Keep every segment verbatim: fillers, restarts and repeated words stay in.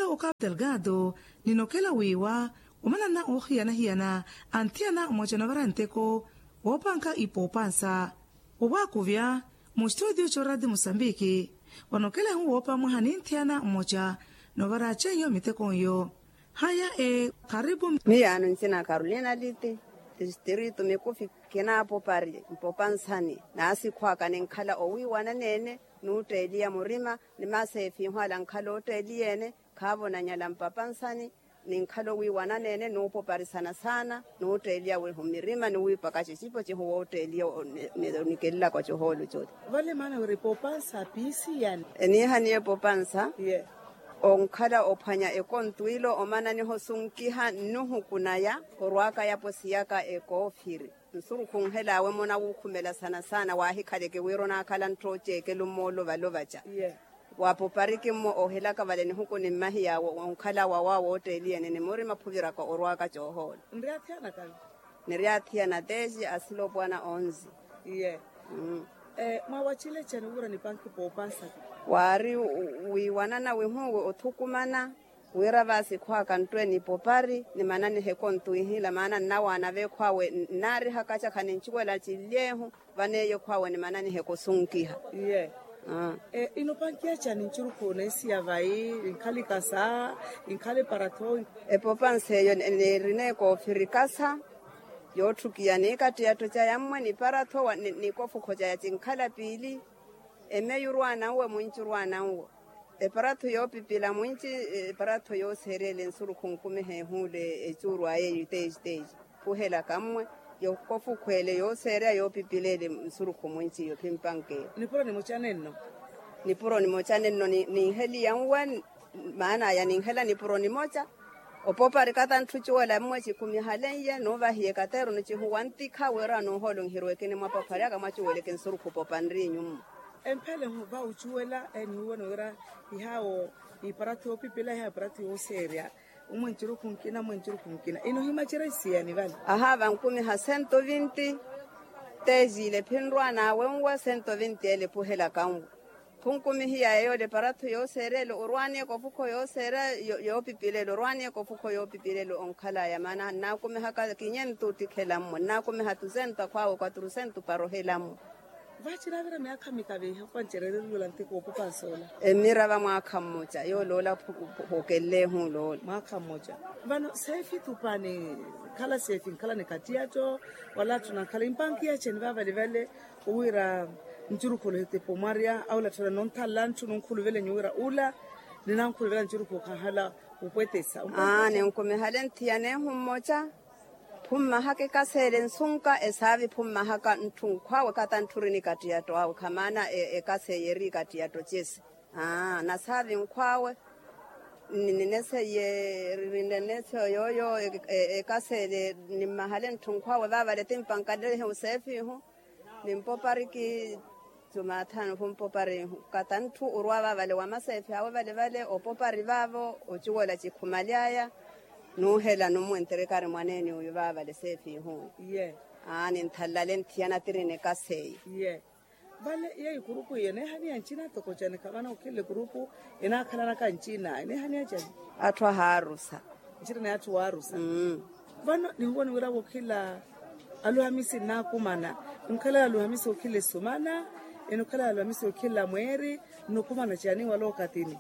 Okhapu delgado, ninokela wiiwa omanana oohiyana-hiyana anthiyana mwaca novara nteko woopanka ipoopansa. Owaakuvya mustutio corati musambiki, vanokela ehu woopa mwaha ninthiyana mwaca novara ceiyo miteko nyo. Haya e kharipu. Miyaano ncina carolina liti, tistritu mikufi. Kinaapopari mpopansani, naasikhwaka ninkhala owiiwana neene, nuutteeliya murima ni maseefihu ala nkhala ootteeliyeene. Khaavo nanyala mpapansani ninkhala owiiwana neene nuupoparisana saana nuutteeliya wihu mirima ni wiipaka cicipo cihu wootteeliya. Nikelelaka ocohoolo coti. Vale maana wira epopansa piisiyani. Eniihaniye epopansa. Onkhala ophwanya ekontwilo omananiha osunkiha nnuhuku naya orwaaka yapo siyaka ekoofiri. Nsurukhu onhel'awe-mo nawuukhumelasana saana waahikhaleke wira onaakhala nttoocekelo mmoolo vale ovaca. Waapopariki-mmo oohelaka vale nihuku ni mmahiya awo onkhala wawa wootteeliyeene ni murima phuviraka orwaaka coohoola. Niryaatthiyana teci asila opwana onzi. Mwawacile cani wira nipanki poopansaka? Waari wiiwanana wihuuwe othukumana wira vaasikhwaka nttwe nipopari nimananihe kontwiihila maana nnawaana veekhwaawe nnaarihaka aca khanincuwela cinlyeehu. Vaneeyo ekhwaawe nimananihe kosunkiha. Inopankiya cani ncurukhu neesiya vayi? Inkhala ikasa inkhala eparatho? Epopansa eyo neerina ekoofiri kasa yootthukiya niikattiyatto caya mmwe niparatho nikofukho caya cinkhala piili. Emeyu orwaana nwe mwinci orwaana nwe. Eparatho yoopipila mwinci eparatho yooseerya ele nsurukhu nkumi heehuule ecuuru aye eyu teeci teeci. Phuhelaka mmwe yokofukhweele yooseerya yoopipila ele nsurukhu mwinci iyo phimpankeyo. Nipuro nimoca nenno. Nipuro nimoca nenno. Ninheliya nwe maana aya ninhela nipuro nimoca. Opopari katanthu cuwela mmwe cikhumihaleiye nuuvahiye kateeroni cihuwa ntikha wira nuuhoolonhirweke ni mwapophari aka mwacuweleke nsurukhu popanriinyu mmo. Emphele va ucuwela enihiwona wira ihaawo iparatho yoopipila ihaawo iparatho yooseerya. Umwe ncurukhu nkina umwe ncurukhu nkina inohimacerya isiyani vale. Ahaava nkumiha sento vinti. Teziile phinrwaan'awe nwa sento vinti ele phuhelaka nwa. Phunkumihiya yeeyo ole paratho yooseerya ele orwaani ekofukho yooseerya yoopipila ele orwaani ekofukho yoopipila ele onkhalaya maana nnaakumihaka kinyentu ottikhela mmo nnaakumiha tusento akhwaawe kwaturusentu para ohela mmo. Vaaci naavira myaakha mikaviha opancererya ola nteko oopopansa ola. Emira va mwaakha mmoca yooloola. Phukenlehu oloola. Mwaakha mmoca. Vano seefi tupani khala seefi nkhala ni kattiyatto wala atthu nankhala impankiya ceni vaavale vale. Owira ncurukhulu ehetipo mwarya aula tthela nonthalela ntthu nunkhuluvelenyu wira ula ninankhuluvela ncurukhulu khanhala. Upwetesa. Aa ninkumihale nthiyanehu mmoca. Phummahaka ekaseele nsunka esaavi phummahaka ntthu nkhwaawe kata ntthu ori nikattiyatto awe khamaana. Ekaseeye eri ikattiyatto cesi. Aa nasaavi nkhwaawe. Nineseye rinenese yooyo ekaseele nimmahale ntthu nkhwaawe vaavale timpankalelehe oseefihu. Nimpopariki jumathanu khumpopari. Kata ntthu orwa vaavale wa maseefi awe vale vale opopari vaavo ocuwola cikhumaly'aya. Nuuhela numwenterekari mwaneene oyu vaavale seefi ihu. Aa ninthalale nthiyana tiri nikaseeyi. Vale yeeyo ekurupu iyo eneehaniya ncina toko cani khavana okhila ekurupu enaakhalanaka ncina eneehaniya cani? Atthu ahaarusa. Ncirina ya atthu waarusa. Vano ninwona wira wokhila aluhamisi nnaakumana. Onkhalaya aluhamisi okhila esumana enokhalaya aluhamisi okhila mweeri. Nnokumana cani wala okatini?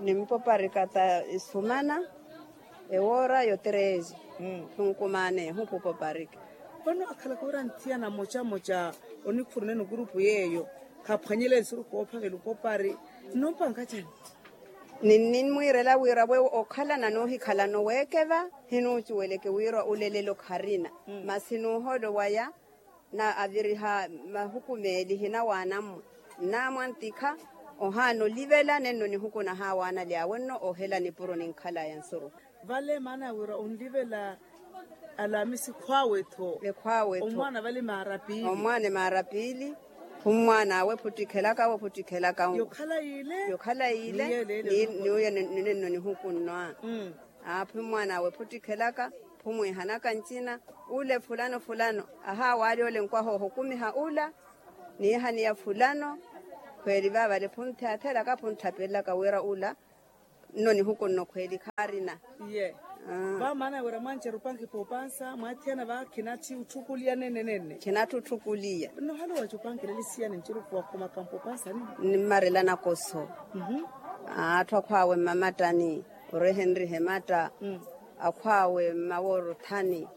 Nimpopari kata esumana ewoora yotereezi. Khunkumaana ehu khupopariki. Vano akhalaka wira nthiyana mmoca mmoca onikhuruneni okurupu yeeyo khaphwanyele nsurukhu oophavela opopari. Nnompanka cani? Ninnimwiirela wira we okhalana noohikhalana oweekeva hinuucuweleke wira olelelo kharina. Masi nuuholo waya na aviriha mahuku meeli hinawaana mmwe nnaamwantikha. Ohaana olivela nenno nihuku nahaawaana lyawe nno ohela nipuro ninkhalaya nsurukhu. Vale maana ya wira onlivela alamisi ekhwaawe-tho. Ekhwaawe-tho. Omwaana vale maara piili. Omwaana emaara piili. Phumwaan'awe phuttikhelaka awe phuttikhelaka nwe. Yokhala yiile. Yokhala yiile. Ni uyo ninenno nihuku nno aa. Aa phumwaan'awe phuttikhelaka phumwiihanaka ncina. Ule fulano fulano ahaawaali ole nkwahooho okumiha ula. Niihaniya fulano. Khweeli vaavale phunthyaathelaka phunthapelelaka wira ula Nno nihuku nno khweeli khaarina. Iye. Vamaana wira mwanceru opankipa opansa mwaathiyana va khinatthi otthukuliya nenne nenne. Khinatthi otthukuliya. Nno ohali waca opankilele siyani ncurukhu wakhuma kampa opansani. Nimmarela nakoso. Atthu akhwaawe mmamattani, orehenrihe matta. Akhwaawe mmawooro othani.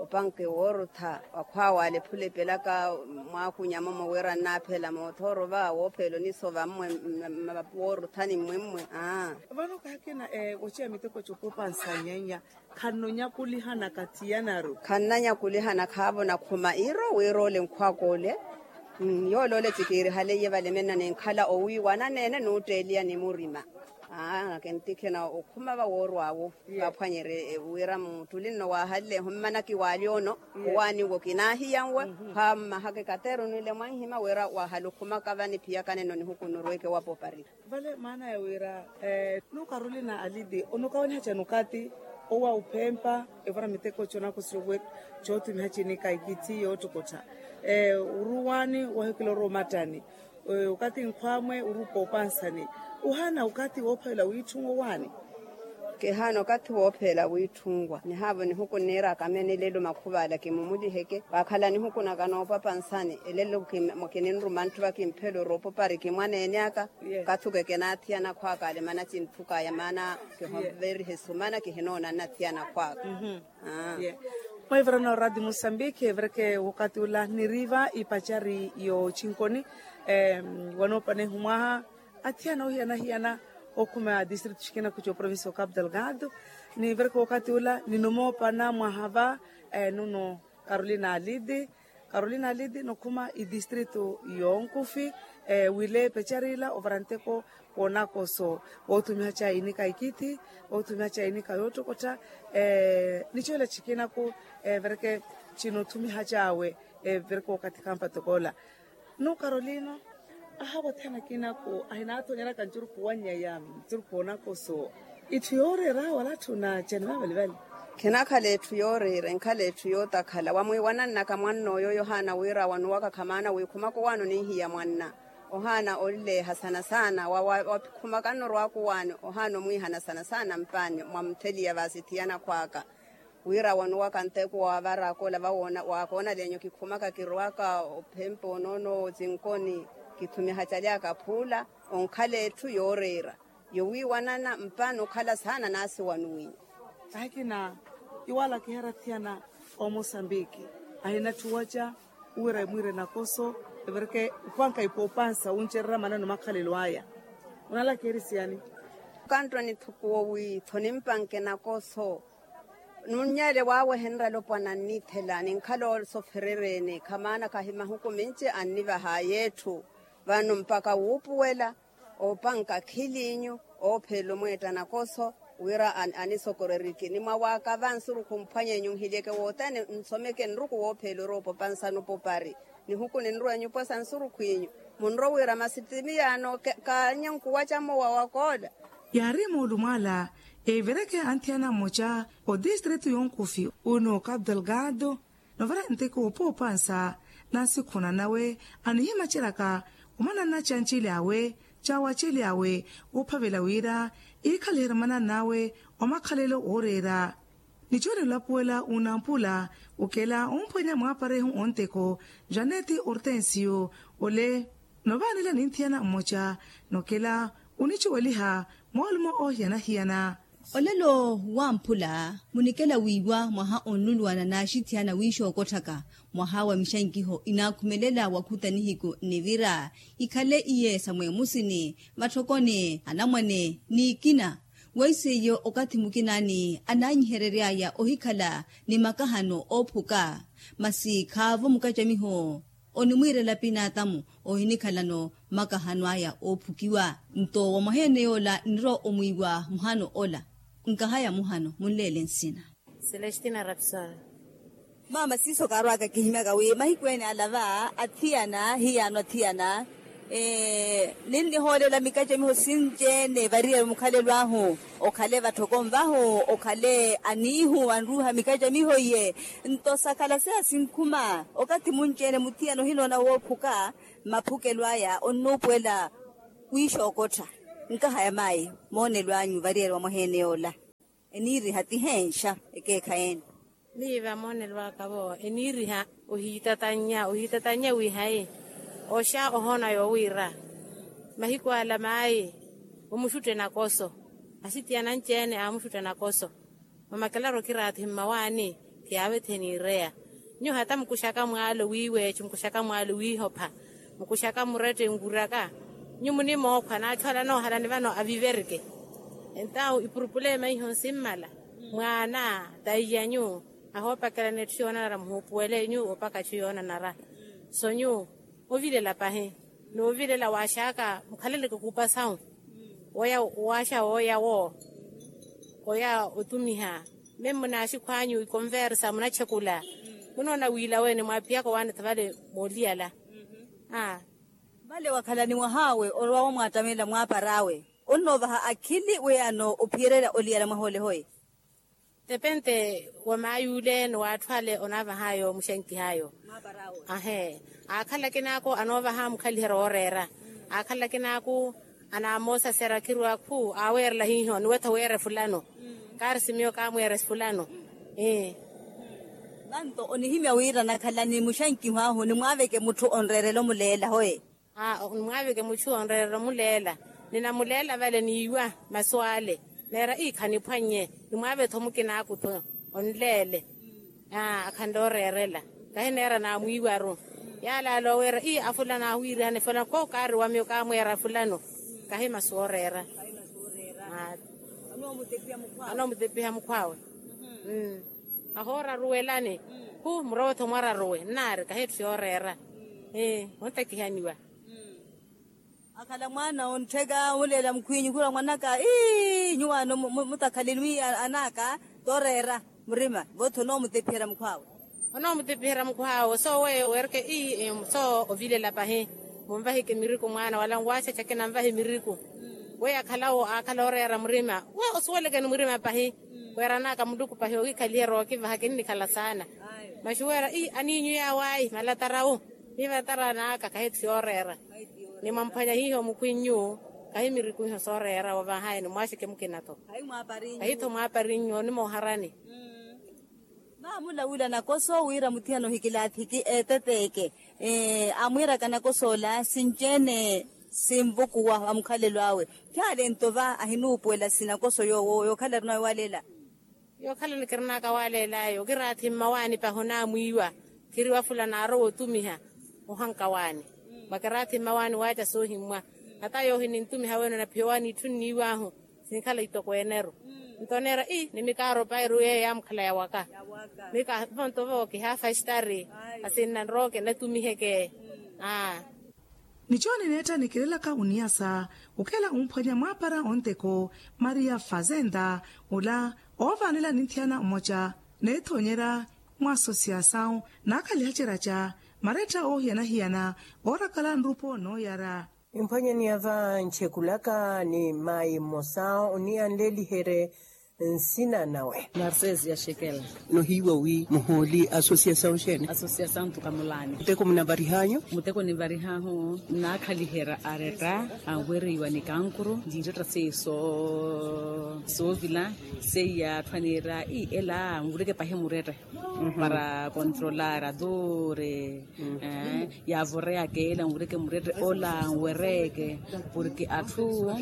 Opanke woorutha wakhwaawe alephula epelaka. Mwaakunya momo wira nnaaphela moothooro va woopheela onisova mmwe mmapapu woorutha ni mmwemmwe. Aa. Vano kaakina woceya miteko cokopansa nyenya. Khanno nyakulihana kathiyanaru. Khannanyakulihana khaavo nakhuma iiro wira ole nkhwaka ole. Yoole ole ti kiirihaleiye vale menna ninkhala owiiwana neene nuutteeliya ni murima. Aa kintikhina okhuma va woorw'awo. Vaaphwanyerye wira muttuli nno waahallehu mmana kiwaaly'ono. Owaaniwo kinaahiyanwe. Khwaammahaka ekateru nwile mwanhima wira waahala okhumaka va niphiyakane nno nihuku nurweke wa poparika. Vale maana ya wira nukarolina alidi onukawaniha cani okathi owa uphempa evara miteko conakosirwe. Cootumiha cinika ikithi yoottokottha oruwaani wahikila orowa omattani. Okathi nkhwamwe orupa opansani ohaana okathi woophavela wiitthunwa owaani. Kihaana okathi woopheela wiitthunwa nihaavo nihuku nniiraka meene elelo makhuvaala kimumuliheke waakhala nihuku naka noopapansani elelo. Kininruma ntthu va kimphela oroopopari kimwaneene aka. Okathi okekenaathiyana khwaaka alemana cintthukaya maana kihoverihe sumana kihinoona nnathiyana khwaaka. Mwaivara na oradi musambiki evereke wokati ula niriva ipachari yochinkoni. Wanoopana ehumwaha athiyana ohiyana-hiyana okhuma district chikina kucho province okapu delgado. Nivereke wokati ula ninomoopana mwaha va nuno carolina alidi. Carolina alidi nokhuma idistritu yonkufi wile pecharila ovara nteko wonakoso woothumiha cha inika ikithi woothumiha cha inika yoottokottha. Nichola chikinaku evereke chinoothumiha chawe evereke wakathi khampatokoola. Nuu carolina ahawathana kinaku ahinaathoonyeraka ncurukhu wannyaya ncurukhu wonakoso. Itthu yooreera wala atthu na chani vavalivali. Khinakhala etthu yooreera enkhala etthu yootakhala wamwiiwanannaka mwanna oyo yohaana wira wanuwaka khamaana wiikhumaka owaani oninhiya mwanna. Ohaana olileeha saana-saana wakhumaka nno orwaaka owaani ohaana omwiihana saana-saana mpaani mwa mutheliya vaasithiyana khwaaka. Wira wanuwaka nteko waavaraka ola vawoona waakoona leenyu kikhumaka kirwaka ophempa onoono otsinkoni. Kithumiha calyaka phuula onkhala etthu yooreera yowiiwanana mpaani okhala saana naasi wanuwiiwa. Akina iwala kihera athiyana omosambiki ahinatthu waca. Wira emwiire nakoso evireke opanka ipoopansa wuncererya manano makhalelo aya. Onalaka eri siyani? Kanttoni thukuwo wi tho nimpanke nakoso. Nunnyele waawehenrya alopwana anniithela ninkhala osoferereene khamaana khahi mahuku minci annivaha yeetthu. Vano mpakha wuupuwela oopanka akhiliinyu oopheela omweetta nakoso wira anisokoreriki ni mwawaaka va nsurukhu mphwanyeenyu nhilyeke woothene nsomeke nruku woopheela oroopopa nsanu popari. Nihuku ninrwa enyupo sa nsurukhw'inyu munrowe wira masi ti miyaano. Kaanyankuwaca mmowa wakoola. Yaari moolumwaala evireke anthiyana mmoca odistritu yonkufi unu capu delgado novara nteko woopoopansa na sikhuna nawe anihimaceryaka omananna cancili awe cawaceli awe woophavela wira iikhaliherya mananna awe omakhalelo wooreera. Nicooni olapuwela wunampula okela omphwanya mwaaparehu onteko janeti ortensio ole novaanela ninthiyana mmoca nokela onicuweliha moolumo oohiyana-hiyana. Olelo wamphula munikela wiiwa mwaha onluluwana naaxithiyana wiixookotthaka mwaha wa mixankiho inaakhumelela wakhuta nihiku nivira ikhale iye samweemusini matthokoni anamwane n'ikina. Weiseiyo okathi mukinaani anaanyiherery'aya ohikhala ni makahano oophuka masi khaavo mukacamiho onimwiirela pinaatamu ohinikhalano makahano aya oophukiwa. Nto wa mwaha ene yoola nnirowa omwiiwa muhano ola. Nkahaya muhano munleele nsina. Celestina rapsol. Maama siiso kaarwaka kihimyaka wi mahiku ene ala va athiyana hiyaano athiyana ninnihoolela mikacamiho sinci-ene variyari mukhalelo ahu okhale vatthoko nvahu okhale aniihu anruuha mikacamiho iye. Nto sakhala seya sinkhuma okathi munci-ene muthiyana ohinoona woophuka maphukelo aya onnuupuwela wiixookottha. Nkaha ya maayi moonelo anyu variyari wa mwaheene yoola? Eniiriha ti heenxa ekeekhayi ene? Miiva moonelo aka vo eniiriha ohiitatannya ohiitatannya wiihayi oxa ohoona yoowiira mahiku ala maayi omuxutte nakoso. Asitiyana anci-ene aamuxutta nakoso. Mamakelaru okiraathihi mmawaani kiyaavethihe niireya. Nyuwo hata mukuxaka mwaalo wiiweecu mukuxaka mwaalo wiihopha mukuxaka murette nkuraka. Nyuwo munimookhwa naathoola noohalani vano aviverike. Entawu ipurupulema iho nsimmala mwaana taiyanyu ahoopakelana etthu yoonanara muhuupuwele nyuwo opaka etthu yoonanara. So nyuwo ovilela pahi noovilela waaxaka mukhaleleke kuupa sawu. Woya waaxa wooya wo oya otumiha memu naaxikhwanyu ikonversa munatxekula. Munoona wiila wene mwaaphiyaka owaanetha vale mooliyala. Vale wakhalani mwahaawe orowa wamwaattamelela mwaapar'awe onnoovaha akhili weyano ophiyererya oliyala mwaha ole hoye. Tepente wa maay'ule ni w'atthu ale onaavah'ayo muxankihayo. Ahe aakhala akinaaku anoovaha mukhaliherya wooreera. Aakhala akinaaku anaamoosasera khirwa khu aaweerela hiiho niwetho weere fulano. Kaari simiyo kaamweere fulano. Ee. Vanto onihimya wira nakhalani muxankiho ahu nimwaaveke mutthu onreerela omuleela hoye. Aa nimwaaveke mutthu onreerela omuleela. Ninamuleela vale niiwa masu ale neera ii khaniphwannye. Nimwaave-tho mukinaaku-tho onleele. Aa akhanle oreerela kahi neera naamwiiwaru. Yaalaala oweera ii afulano awiirihane fulano kookaari wa miyo kaamweera fulano. Kahi masu ooreera. Anoomutepiha mukhw'awe. Ahooraruwelani. Khu murowe-tho mwararuwe nnaari kahi etthu yooreera. Ee ontekihaniwa. Akhala mwaana onttheka omuleela mukhwinyu khula mwanaka ii nyuwaano mutakhaleni wi anaaka tooreera murima vo-tho onoomutepiherya mukhw'awe. Onoomutepiherya mukhw'awe sooweyo weereke ii soo ovilela pahi. Munvahike miriku mwaana wala nwaaxaxake nanvahe miriku. Weyo akhalawo aakhala oreera murima we osuwelekeni murima pahi. Weeran'aka muluku pahi okikhaliherya ookivaha kinnikhala saana. Maxuweera ii aniinyu yaawayi malatarawu. Ni malatara n'aka kahi etthu yooreera. Ni mwamphwanya hiiho mukhwinyu kahi miriku hiiho sooreera wovahayani mwaaxeke mukina-tho. Kahi-tho mwaaparinyu onimooharani. Vaamula wila nakoso wira muthiyana ohikilaathiki eeteteeke. Aamwiiraka nakoso ola sinci-ene sinvukuwa va mukhalelo awe. Khaale nto va ahinuupuwela sinakoso yoowo yookhala arinawe walela. Yookhalani kirin'aka walela ayo kiraathi mmawaani pahi onaamwiiwa. Khiriwa fulano aarowa otumiha ohanka waani. Mwa kiraathi mmawaani waaca soohimmwa. Hata yoohi nintumiha weene onaphiya owaani itthu nniiw'ahu. Sinkhala itokweene-ru. Nto oneera ii nimikaaro pairu yeeyo yaamukhala yawaka. Mika vonto vo kihaafa estari. Asinna nrooke natumiheke. Aa. Nicho nineetta nikirelaka oniyasa okela omphwanya mwaapara onteko maria fazenda ola oovaanela ninthiyana omoca neethonyerya mwa asosiyasawu naakhaliha ceraca maretta oohiyana-hiyana oorakala nrupo nooyara. Nimphwanyaniya va nchekulaka ni maayi mmosa oniyanleliherye nsina nawe. Narcese ya xekela. Nohiiwa wi muhooli asosiyasawu xeene? Asosiyasawu ntukamulaani. Muteko munavarih'anyu? Muteko nivarih'ahu nnaakhaliherya aretta anwereiwa ni kankuru niretta seiya soovila. Seiya atthu aniira ii ela nvureke pahi muretta para kontrolara dure. Yaavoreya akeela nwereke murette ola nwereke porke atthu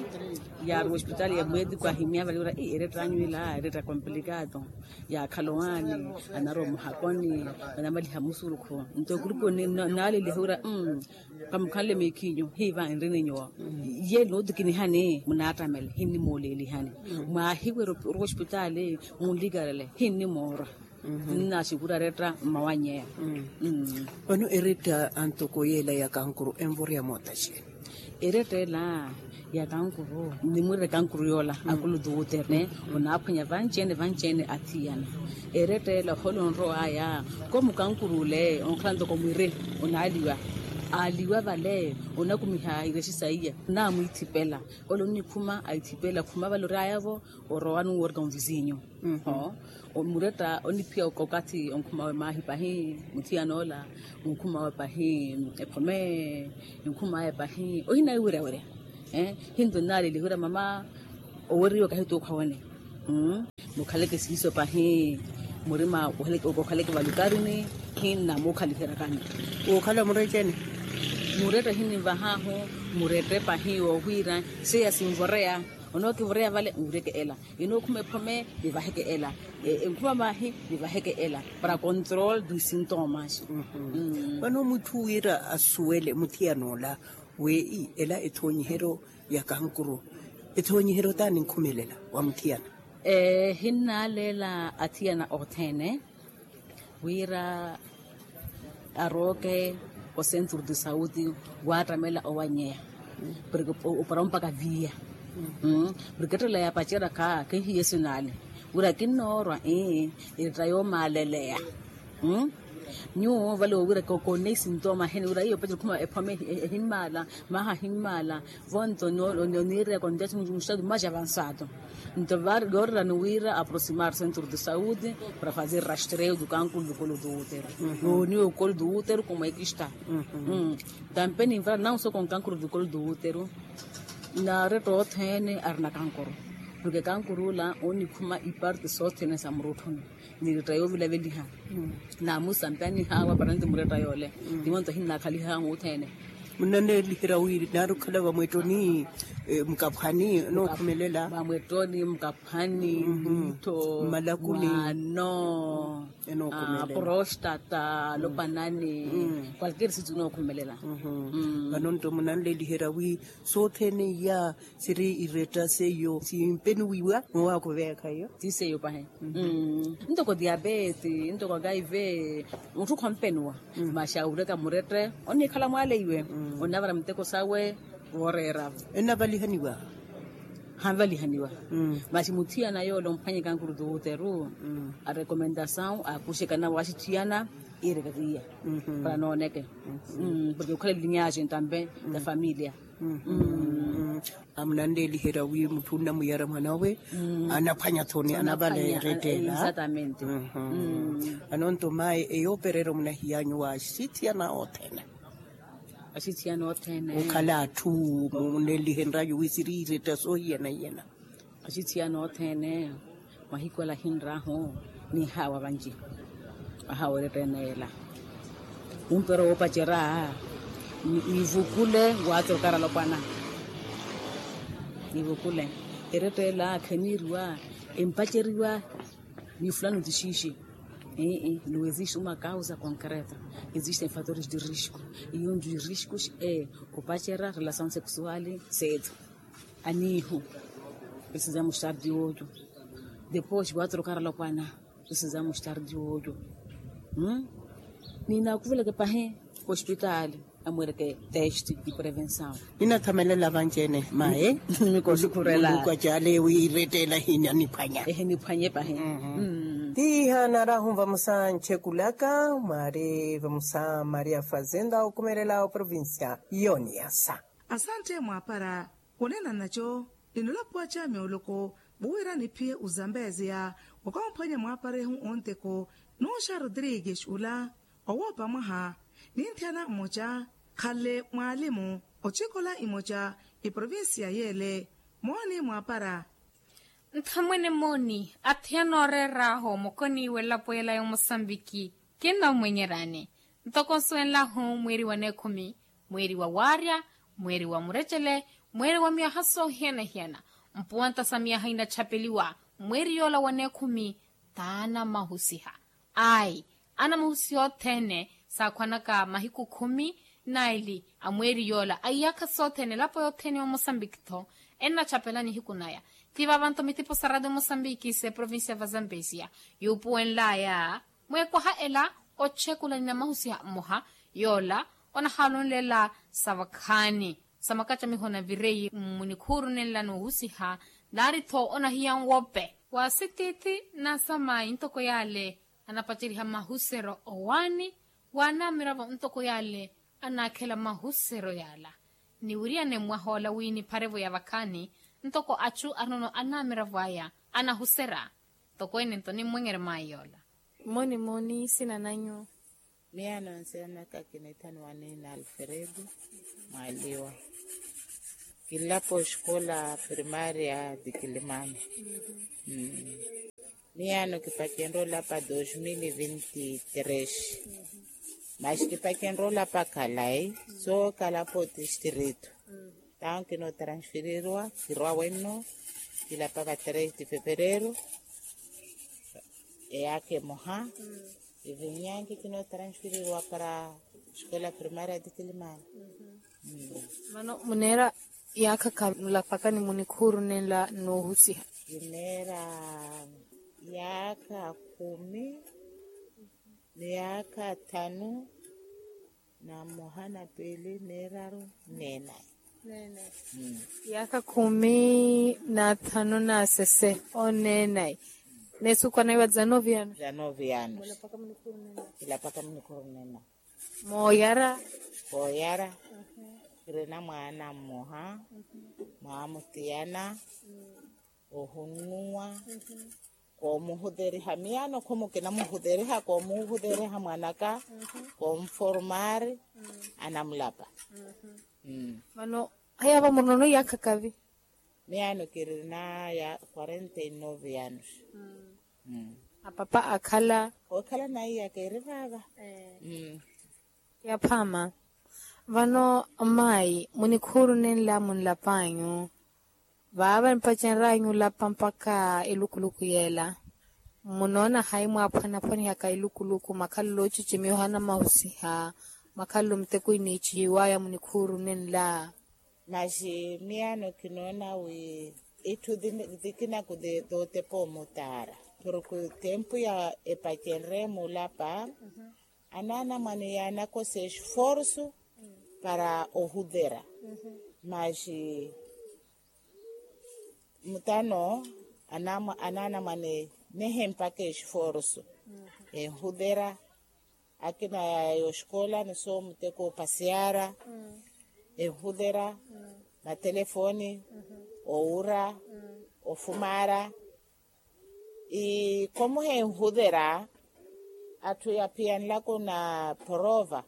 yaaruwa ospitaali ya mwetiku ahimya vale wira ii eretta anyu ila eretta komplikado. Yaakhala owaani anarowa omuhakoni anamaliha musurukhu nto ekuruponi naaleliha wira. Kamukhanle miikhinyu hiiva nrini nyuwo. Ye nootikinihani munaattamele hinnimooleelihani. Mwaahiwerya oruwa ospitaali munlikarele hinnimoorwa. Tinnaaxikura eretta mmawannyeya. Vano eretta antoko yeela ya kankuru envoreya moota xeeni? Eretta ela ya kankuru nimwiretta kankuru yoola akulu tuuterne. Onaaphwanya vanci-ene vanci-ene athiyana. Eretta ela ohoolo onrow'aya komu kankuru ole onkhala ntoko mwiri onaaliwa. Aaliwa vale onakumiha irexi saiya. Onaamwiithipela ole onnikhuma aithipela khuma vale ory'aya-vo. Orowa nuuwerka onvisinyu. Muretta oniphiya okathi onkhum'awe maahi pahi. Muthiyan'ola onkhum'awe pahi ephome. Onkhum'aya pahi ohina iweryawerya. Hinto nnaaleliha wira mama, oweriwa kahituukha wene. Mukhaleke siiso pahi. Murima okhaleke valukarini, hinnamukhaliherakani. Okhala murecheni. Muretta hininvahaahu. Murette pahi woohwira, seiya sinvoreya. Onookivoreya vale nwireke ela. Inookhuma ephome nivaheke ela. Enkhuma vahi nivaheke ela. Para control di sintomas. Vano mutthu wira asuwele muthiyan'ola, wi ela ethoonyiheryo ya kankuru, ethoonyiheryo t'ani nkhumelela wa muthiyana. Hinnaaleela athiyana othene wira arooke o centro de saude, waattamela owanyeya porke opara ompaka viiya. Porke ettela yaapacerya kha khehiye sinaale wira kinnoorwa. Eretta yoomaaleleya. Nyuwo vale woowira koneyi sintooma ahene wira iyo opacela okhuma ephome ehimmaala, maha ahimmaala. Vonto oniireya kontesi muxtatu mais avansado. Nto yoorerani wira aproximar centro de saude para fazer rastreio do cancro do colo do útero. Nooniwa ocolo do útero como é que está. Tampe ninvara não só com cancro do colo do útero, naretta othene arina cancro. Porke cancro ula onikhuma iparte sothene sa murutthuni. Niretta yoovilaveliha. Namusampanihawa para nti muretta yoole. Timonto ahinnakhalihahu othene. Munnaneliherya wi naari okhala vamwettoni, mukaphwani nookhumelela. Vamwettoni mukaphwani, miittho, mmalakuni, mwaano, prostata, alopanani, qualquer sitio nookhumelela. Vano nto munanleliherya wi sothene iya siri iretta seiyo simpeniwiwa mwawakuveekha iyo. Ti seiyo pahi. Ntoko diapete, ntoko kaive, mutthu khompeniwa. Masi awireka murette onnikhala mwaleiwe, onnavara muteko sawe wooreeravo. Ennavalihaniwa. Hanvalihaniwa. Masi muthiyana yoole omphwanye kankuru do útero, a recomendação akuxekana waaxithiyana iireka kiya para nooneke. Porke okhala linyaxe tampe da familia. Amunanleliherya wi mutthu onnamuyara mwanawe anaphwanya thoni anavalerettela. Vano nto mayi eyoopererya omunahiyanyuwa axithiyana othene. Axithiyana othene okhala atthu munelihenryayu wi siri iretta soohiyana-hiyana. Axithiyana othene. Mahiku ala ahinrahu nihawa vanci. Ahawa eretta ene ela umpero woopacerya. Nivukule waatrokara alopwana. Nivukule eretta ela kheniiriwa empaceriwa. Ni fulano ti xiixi. Ii no existe uma causa concreta. Existem fatores de risco. Iyo nri riscos e opacerya relação sexuale seethu. Aniihu precisamos estar de olho. Depois waatrokara alopwana. Precisamos estar de olho. Ninaakuveleke pahi hospitaali amwereke teste de prevenção. Ninathamelela vanci-ene mayi. Mikosukhurela muluku acale wi irettela hina niphwanya ehe niphwanye pahi. Tiiha naarahu vamosa nchekulaka mwaari vamosa maria fazenda okhumelela oprovincia yoniyasa. Asante mwaapara. Wonena nnaco ninolapuwa ca mioloko. Vuwira niphiye ozambezeya wakaamphwanya mwaaparehu onteko. Nuuxa rodrigues ula owoopa mwaha ninthiyana mmoca khale mwaalimu ocikola imoca. Iprovinsiya yeele mooni mwaapara. Nthamwene mooni athiyana ooreer'ahu mukoniiwe elapo ela ya omosambiki. Kinnammwenyerani ntoko nsuwenlahu mweeri wa neekhumi, mweeri wa waarya, mweeri wa murecele, mweeri wa myaha soohiyana-hiyana. Mpuwanta sa myaha inachapeliwa mweeri yoola wa neekhumi. Taana mahusiha ayi anamahusiha othene saakhwanaka mahiku khumi. Naili a mweeri yoola a iyaakha sothene elapo yothene ya omosambiki-tho ennachapela nihiku naya. Ti vavanto mitipo sa radio mosambiki se provincia va zambezia yuupuwenlaya mweekwaha ela. Ochekula ni namahusiha mmoha yoola onahaalonlela sa vakhaani sa makacamiho na vireyi mmunikhuuru nenla noohusiha. Naari-tho onahiya nwope wa sitiithi na samayi ntoko yaale anapaceriha mahusero owaani waanaamiravo ntoko yaale anaakhela mahusero yaala. Niwiriyane mmwahoola wi nipharevo ya vakhaani ntoko achu arinono anaamiravo aya anahusera. Ntoko ene nto nimmwenyere mayi yoola. Mooni mooni sina nanyu? Miyaano nsiyanaka kinithaniwa ni na alfredo. Mwaaliwa. Kilapo escola primaria dikilimani. Miyaano kipacenre olapa dos mil vinti tres. Maxi kipacenre olapa khalai. Soo kalapo tistrito. Tawo kinotransfereriwa kirwa wenno. Kilapaka tres de fevereiro. Eyaka emoha. Ivinyanki kinotransfereriwa para escola primaria dikilimani. Mano muneera yaakha khavi mulapakani munikhuuru nenla noohusiha? Kineera yaakha khumi ni yaakha thanu na mmoha na piili neeraru neenayi. Yaakha khumi na thanu na sese oneenayi. Neesuku anaiwa dzanoviano dzanoviano. Kilapaka munikhuuru nenla. Mooyara. Kooyara. Kirina mwaana mmoha. Mwaamutiyana. Ohunnuwa. Koomuhuteriha miyaano khumu kinamuhuteriha koomuhuteriha mwanaka. Koomuformari. Anamulapa. Mano haya va murinono yaakha kavi? Miyaano kirina ya quarenta e nove anos. Apapa akhala? Okhala naiya keri vaava. Yaphaama. Vano mayi munikhuuru nenla munlapanyu vaava empacenryanyu olapa mpakha elukuluku yeela. Munoona hayi mwaaphwanaphwanihaka elukuluku makhalelo ocicimiha onamahusiha makhalelo muteko iniicihiwaya munikhuuru nenla? Maxi miyaano kinoona wi itthu dikinaku dootepa omutaara. Porke tempu ya epacenre mulapa anaana mwane yaanakosa esforsu para ohutera. Maxi mutano anaana mwane nehempaka esforsu enhutera. Akina yaya oxikola ni soo muteko opasiara enhutera. Matelefoni owura ofumara. Ikomuha enhutera atthu yaphiya nlaku na porova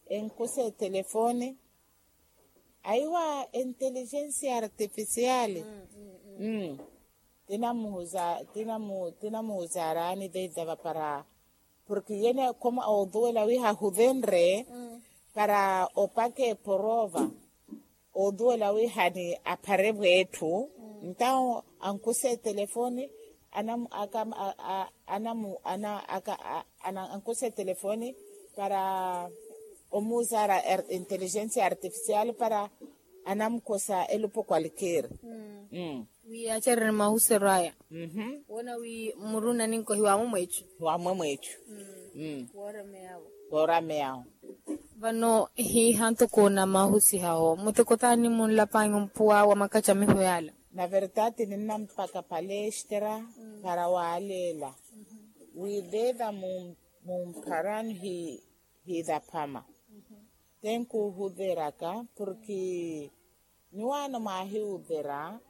enkusa etelefoni. Aiwa enteligensia artificiali. Tinamuhuza tinamuhuza araani veitava para porke yene khomo oduwela wi hahuvenre para opaka eporova. Oduwela wi hani aphare vwetthu. Ntawo ankusa etelefoni anamu aka anamu ana aka ankusa etelefoni para omuuza inteligensia artificial para anamukosa elupo kwalker. Wi acererye mahuseryo aya. Woona wi muru naninko hiwamwe mweecu. Hiwamwe mweecu. Woorameyawo. Vano hiiha ntoko namahusihawo muteko taani munlapanyu mpuwa wa makacamiho yaala? Na verdade ninna mpaka palestra para waaleela wi veva mumpharani. Hiilaphama tenkuhuveraka porke niwaano mwahiuvera.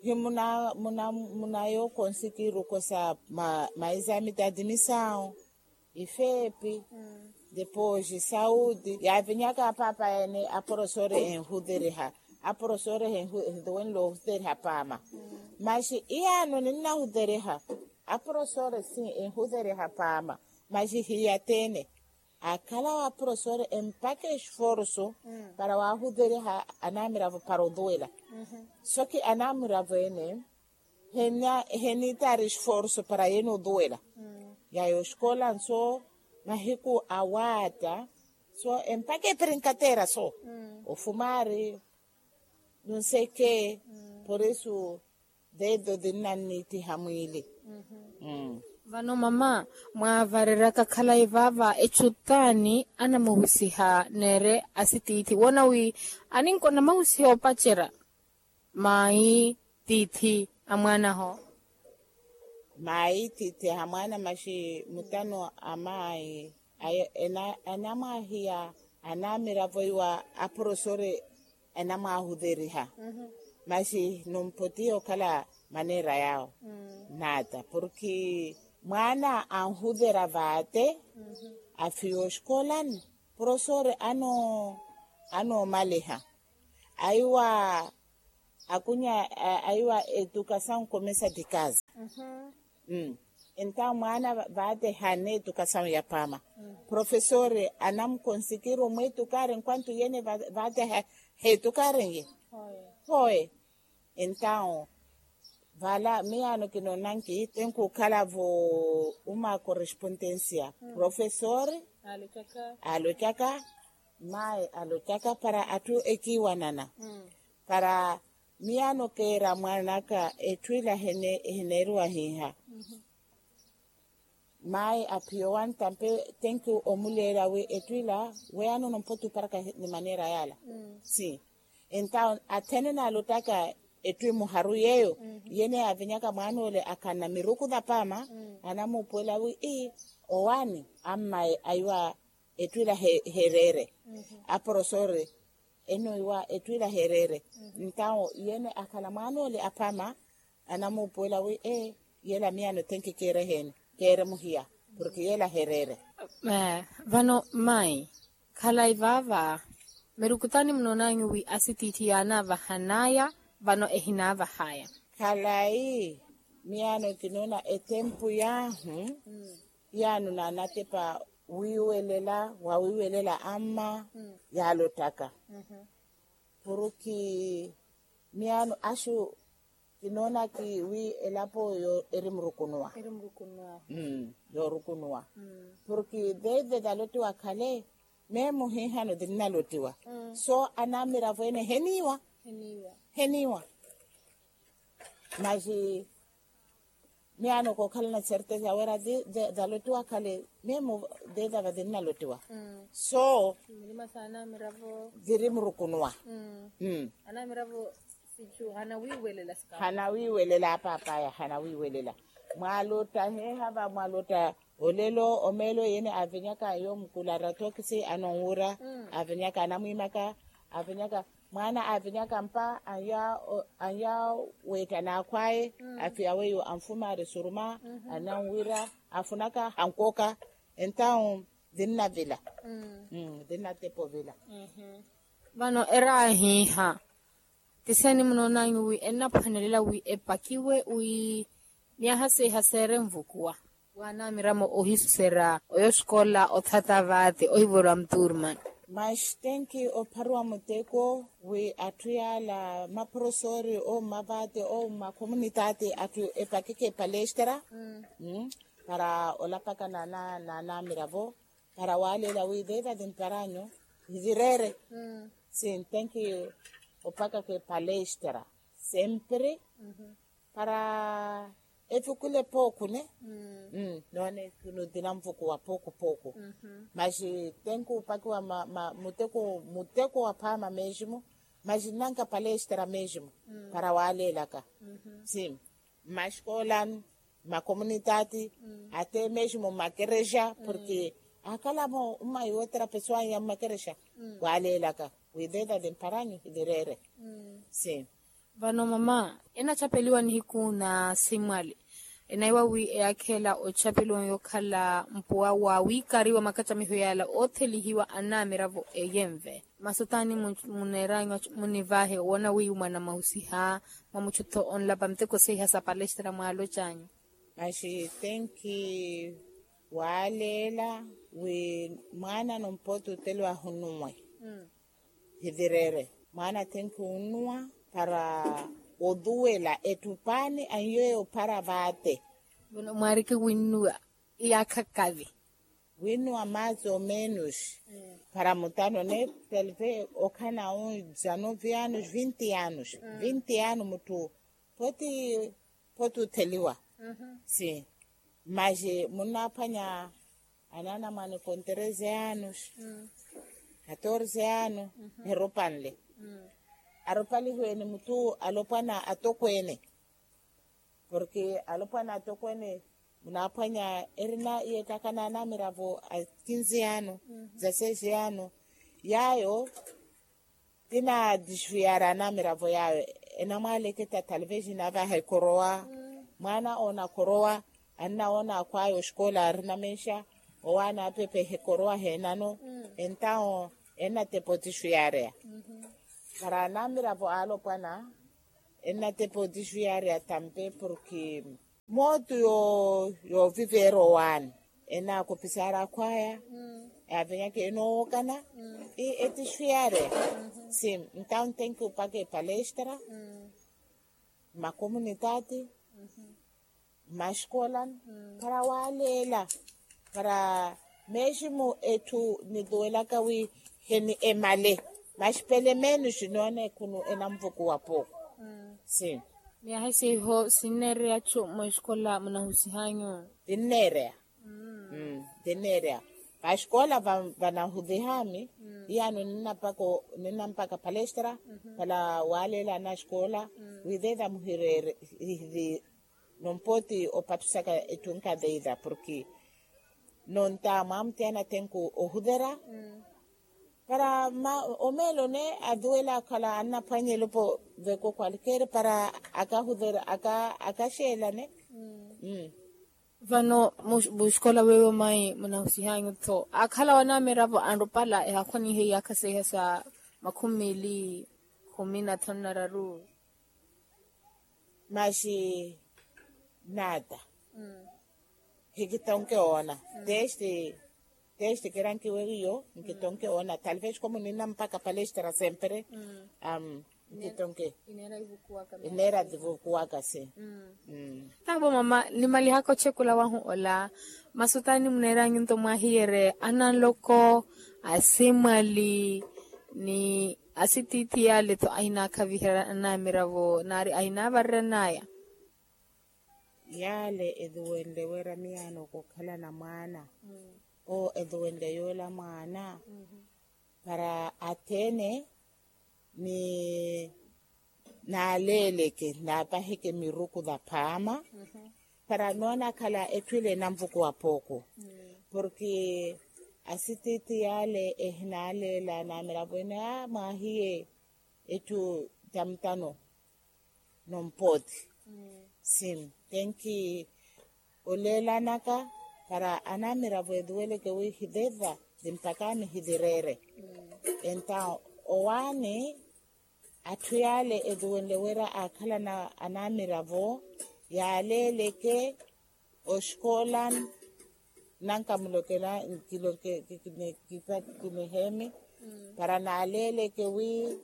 Hi muna muna muna yo konsikiruko sa maisa ya mitati misawu ifeepi depois saudi yaavinyaka apaapa ene aporosore enhuteriha. Aporosore enhuteriha paama maxi iyaano ninnahuteriha. Aporosore si enhuteriha paama maxi hiyateene. Akhala wa profesor empaka esforsu para wahuteriha anamiravo para oduwela. Soki anamiravo ene heniitaari esforsu para yene oduwela. Yaya oxikola nso mahiku awaatta so empaka eprinkatera so ofumari. Nonseke por eso dedo dinnanniitiha mwiili. Vano mama mwaavareraka khalayi vaava echu taani anamuhusiha neere asitiithi woona wi aninko namahusiha opacerya. Maayi tiithi a mwaanaho. Maayi tiithi a mwaana maxi mutano a maayi anamwaahiya anamiravo iwa aporosore enamwaahuteriha. Maxi numpotiya okhala maneera yaawo naata porke mwaana anhutera vaate afiya oxikolani porosore anoomaliha. Aiwa akunya aiwa edukasaw komesa dikaza. Entaw mwaana vaateha neetukasaw ya paama. Profesori anamukonsikiru mweetukari nkwantu yene vaateha heetukari nye. Hoye. Entaw vala miyaano kinoonanki tenkuukhala vo uma korespontensia profesori alotyaka mayi alotyaka para atthu ekiiwanana para miyaano keera mwaan'aka etthu ila ehineeriwa hiiha. Mayi aphiya owantampe tenki omuleela wi etthu ila weyaano nompotti oparaka ni maneera yaala. Si entaw athenene alottaka etthu emuharu yeeyo yene yaavinyaka mwaan'ole akhanna miruku thapaama anamuupuwela wi ii owaani ammayi ayiwa etthu ila heereere. Aporosori enoiwa etthu ila heereere. Entaw yene akhala mwaan'ole apaama anamuupuwela wi ee yela miyaano tenki keere eheeni keere muhiya porke yela hereere. Vano mayi khalayi vaava mirukutani munoonanyu wi asitiithi yaanaavahanaya vano ehinaavahaya. Khalayi miyaano kinoona etempu yaahu yaano naanatepa wiiwelela wawiiwelela amma yaalottaka porke miyaano axu kinoonaki wi elapo eri murukunuwa. Yoorukunuwa porke theive thalottiwa khale meemu hiihano thinnalottiwa so anamiravo ene heniiwa. Heniiwa. Maxi miyaano kookhalana certeza wira thalottiwa khale meemu theive va thinnalottiwa so thiri murukunuwa. Hanawiiwelela apaapaya hanawiiwelela. Mwalotta heehava mwalotta olelo omeelo yene aavinyaka yoomukulara tokisi anonwuura aavinyaka anamwiimaka aavinyaka mwaana aavinyaka mpa anyaa weetta naakhw'aye afiya weiwo anfumaari suruma ananwira afunaka hankooka. Entaw thinnavila thinnatepa ovila. Vano eraahiiha tiseni munoonanyu wi ennaphwanelela wi epakiwe wi myaha seiha seere nvukuwa waanamiramo ohisusera oyo xikola othata vaate ohivoriwa muturman. Maxi tenki opharuwa muteko wi atthu yaala maporosori ouma vaate ouma khomunitaati atthu epakeke palestra para olapaka naanamiravo para waaleela wi veeva vimparanyu hivireere. Si ntenki opakaka epalestra sempre para evikule pooku ne noone kinothina nvukuwa pooku pooku. Maxi tenki opakiwa muteko muteko wa phaama meximu maxi nnanka palestra meximu para waaleelaka. Si mmaxikoolani mmakomunitaati athemeximo mmakerexa porke akhalamo mmayi wootera pesowa ya mmakerexa waaleelaka wi veeva vimparanyu hivireere. Si vano mama enachapeliwa nihiku na simwali enaiwa wi eyakhela ochapeliwa yokhala mpuwa wa wikari wa makachamiho yala othelihiwa anamiravo eyenve. Masutani muneeranyu munivahe owoona wiiwo mwanamahusiha mwa muchutho onlapa muteko seiha sa palestra mwaalochanyu. Maxi tenki waaleela wi mwaana nompoti oteliwa ahunuwe hivireere mwaana tenki onuwa para otuwela ettupaani anyoye ophara vaate. Mwaariki winnuwa iyaakha kavi winnuwa maasi omenos para mutano ne talve okhana un dizanove anos vinti anos vinti anos mutthu poti poti otheliwa. Si maxi munnaaphwanya anaana mwaani kontereze anos katorze anos eropanle aropalihiwe ni mutthu alopwana atokweene porke alopwana atokweene munaaphwanya erina yeettaka naanamiravo a kinze ano za seze ano yaayo ti na disfiyari anamiravo yaayo enamwaaleketta talvez navaha ekorowa mwaana oona akorowa annawoona akhwaya oxikola arina menxa owaana apepe hekorowa heenano entawo ennatepa otisfiyareya. Para anamiravo alopwana ennatepa otixuyari atampe porki mootu yooviveera owaani ennakopisaari akhwaya. Yavenyaka enoowokana etixuyari. Si ntawo ntenki opaka epalestra mmakomunitati mmaxikoolani para waaleela para meximu etthu nituwelaka wi heni emale maxi pelemenu xinoona ekhunu enanvukuwa pooko. Si miyaha siho sinneereya atthu mwexikhoola munahusihanyu? Tinneereya. Tinneereya. Vaxikoola vanahutihami iyano ninnampaka palestra para waaleela anaxikoola wi theta muhireere nompooti opattusaka ettunka theta porki nonta mwamuthiyana tenku ohutera para omeelone athuwela akhala annaphwanya elopo veko kwalkeere para akahutera akaxeelane. Vano muxikola weyo mayi munahusihanyu tho akhala wanamiravo anropala ehakhwanihe iyakha seiha sa makhumi mili khumi na thanu na raru? Maxi nata hikitonke oona testi testi kirankiwe wiyo nkitonke oona talvez komu ninna mpaka palestra sempre. Nkitonke ineera tivukuwaka si. Tavo mama nimalihaka ochekula wahu ola masutani muneeranyu nto mwahiyere ananloko asimwali ni asitiithi yale tho ahinakhaviherya anamiravo nari ahinavareranaya. Yale ethuwenle wira miyaano okukhalana mwaana oo ethuwenle yoola mwaana para athene ni naaleeleke naapaheke miruku vaphaama para noona akhala etthu ile enanvukuwa pooko porki asitiithi yale ehinaaleela naamira vwene a mwaahiye etthu tamutano nompooti si tenki oleelanaka para anamiravo ethuweleke wi hithitha thimpakani hithireere. Entawo owaani atthu yaale ethuwenle wira aakhalana anamiravo yaaleeleke oxikoolan nankamulokela nkiloke kiniheemi para naaleeleke wi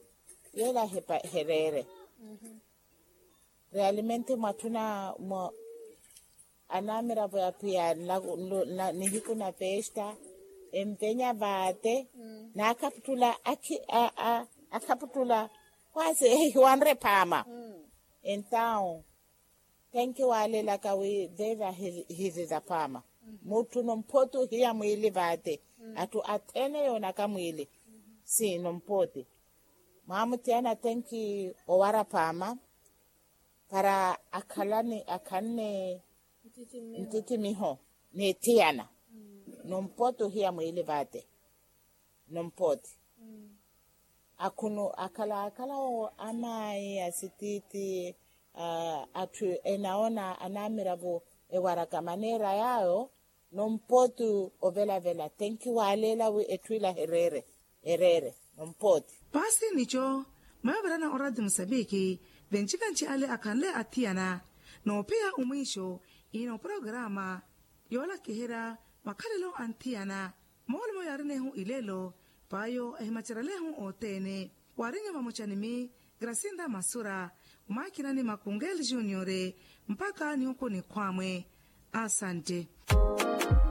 yeela hereere. Realmente mwatthuna mwa anamiravo ya phiya nihiku na festa envenya vaate naakhaputtula akhaputtula kwasi ehiwanre phaama. Entawo tenki waalelaka wi veva hithitha phaama mutthu nomphoti ohiya mwiili vaate atthu athene yoonaka mwiili si nomphoti mwamuthiyana tenki owara phaama para akhalane akhanne nttittimiho n'ethiyana nompooti ohiya mwiili vaate nompooti akhunu akhala akhala amaayi asitiithi atthu enaona anamiravo ewaraka maneera yaayo nompooti ovelavela tenki waaleela wi etthu ila hereere ereere nompooti. Paasi nico mayo virana oradio musambiki venci-venci ale akhanle athiyana noophiya omwiixo ihi nooporogarama yoolakiherya makhalelo anthiyana moolumo yaarinehu ilelo payo ehimacerelehu othene waarinyu vamocanimi grasinda masura omakinani makungeli juniore mpaka nihuku nikhwamwe asante.